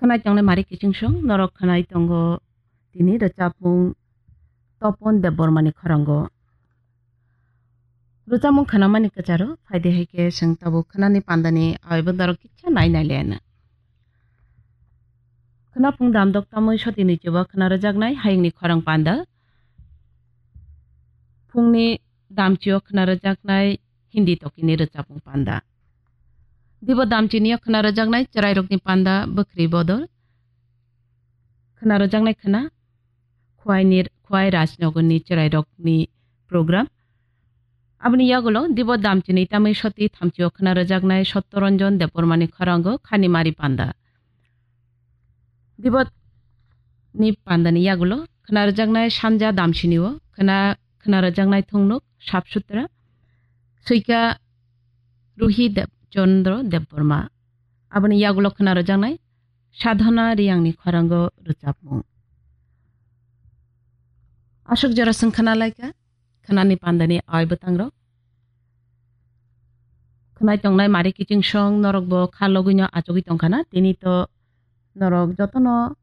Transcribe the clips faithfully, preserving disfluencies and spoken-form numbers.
Khwnai tongnai mari kiching song, norok khwnai tongo tini rwchapmung Topon Debbarmani khorango. Rwchapmung khwnamani kwcharo, phaidi hai khe chwng tabuk khwnani pandani aoibo norok kisa nai nai lena. Khwnaphung damdok tamwi sotini chuba khwna rwjaknai hayungni khorang panda. Phungni damchio khwna rwjaknai Hindi tokini rwchapmung panda. Dibo damchinio khwna rwjaknai chwrairokni panda bwkhri bodol. Khwna rwjaknai khwna Khwaini, Khwai Rajnagarni chwrairokni program. Aboni yagulo dibo damchini tamwi soti thamchio khwna rwjaknai Sottoranjan Debbarmani khorango khani mari panda. Dibo ni pandani yagulo khwna rwjaknai sanja damsinio khwna, khwna rwjaknai thungnuk Sap Sutra, swika Ruhi Deb-, Chandra Debbarma. Aboni yagulo khwna rwjaknai Sadhana Riyangni khorango rwchapmung. Aswk jora chwng khwna laikha, khwnani pandani aoi bwtangrok. Khwnai tongnai mari kiching song norok bo kha logwino achugwi tongkhana, tini to norok jotono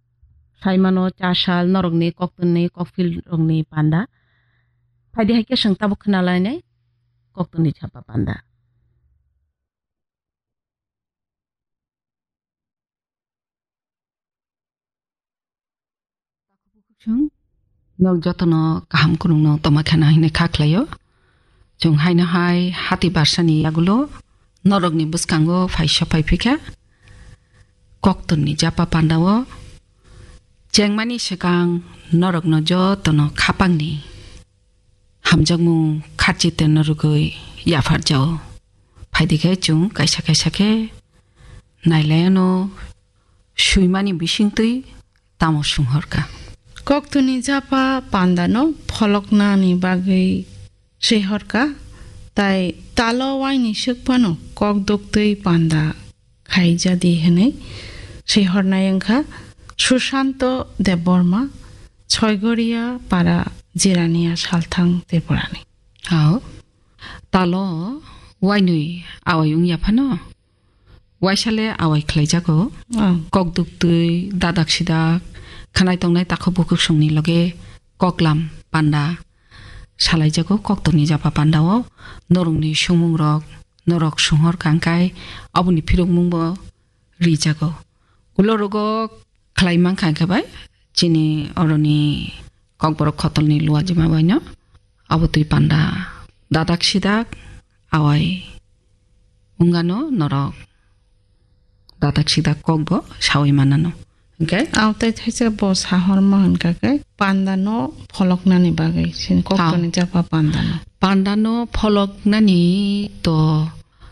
saimano cha sal norokni koktwni kokphil rokni panda. Phaidi hai khe chwng tabuk khwna lainai koktwni chapa panda. Chwng nok jotono kaham kwrwngno tongma khana hwnwi kha khlaio. Chwng haino hai hati barsani yagulo norokni bwskango phai sophai phikha. Koktwrni japa pandao chengmani swkang norokno jotono khapangni hamjakmung kharchi tenno rwgwi yapharjao. Phaidi khe chwng kaisa kaisa khe nailaiano swimani bisingtwi tamo swnghorkha. Koktwni japa pandano pholoknani bagwi swihorkha, tai talo waini swk phano kok duktwi panda khaijadi hwnwi swihornai wngkha Sushanto Debbarma, Soigoria para Jirania Salthang Tripurani. Ao, talo wainwi awai wngya phano, waisale awai khlaijago. Oh. Kok duktwi, dadak sidak, khwnai tongnai takhuk bukhuk songni loge koklam panda salaijago, koktwrni japa pandao norokni sumung rok, norok sunghor kangkai, aboni phirokmung bo rijago. Ulo rogo khlai mankha khe bai chini oroni kokborok khotolni luajima baino abo twi panda dadak sidak awai wngano norok dadak sidak kokbo sawi manano. Hwnkhe? Ao tei thaisa bo sahorma hwnkha khe pandano pholoknani bagwi sini koktwrni japa pandano. Pandano pholoknani to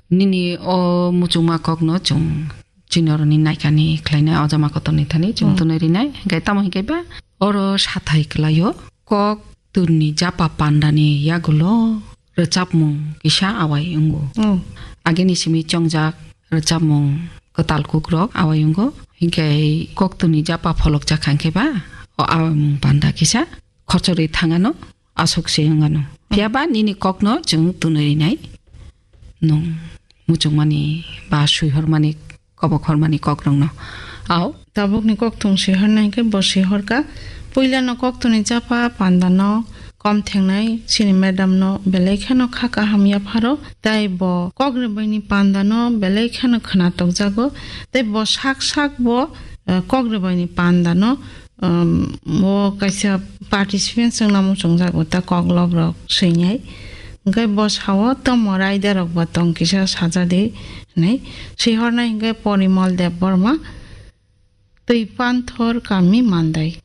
nini o muchungma kokno chwng chini oroni naikani khlainai o jama kotorni thani chwng Hmm. tunui rinai. Hwnkhe tamo hwnkhe ba oro sathai kwlaio kok twrni japa pandani yagulo rwchapmung kisa awai wngo. Oh. Agini simi chongjak rwchapmung kwtal kukrok awai wngo. Hinkhe koktwni japa pholokjak kha hinkhe ba o awai mung panda kisa khorchorwi thangano aswk se wngano. Phiya ba nini kokno chwng tunwi rinai. Nwng muchungmani ba swihormani kobok hormani kokrokno. Ao. Tabukni kokthung sihornai hinkhe bo sihorkha. Puilano koktwni japa pandano kom thengnai chini madamno belai kheno kha kaham yapharo. Tai bo kok rwbaini pandano belai kheno khwnatok jago. Tai bo sak sak bo, eh, kok rwbaini pandano, um, bo kaisa participant swngna muchungjago ta koklop rok swinai. Hwnkhe bo sao tomo raida rok bo tong kisa sajadi hinwi sihornai hinkhe Porimol Debbarma. Twi Panthor kami Mandai.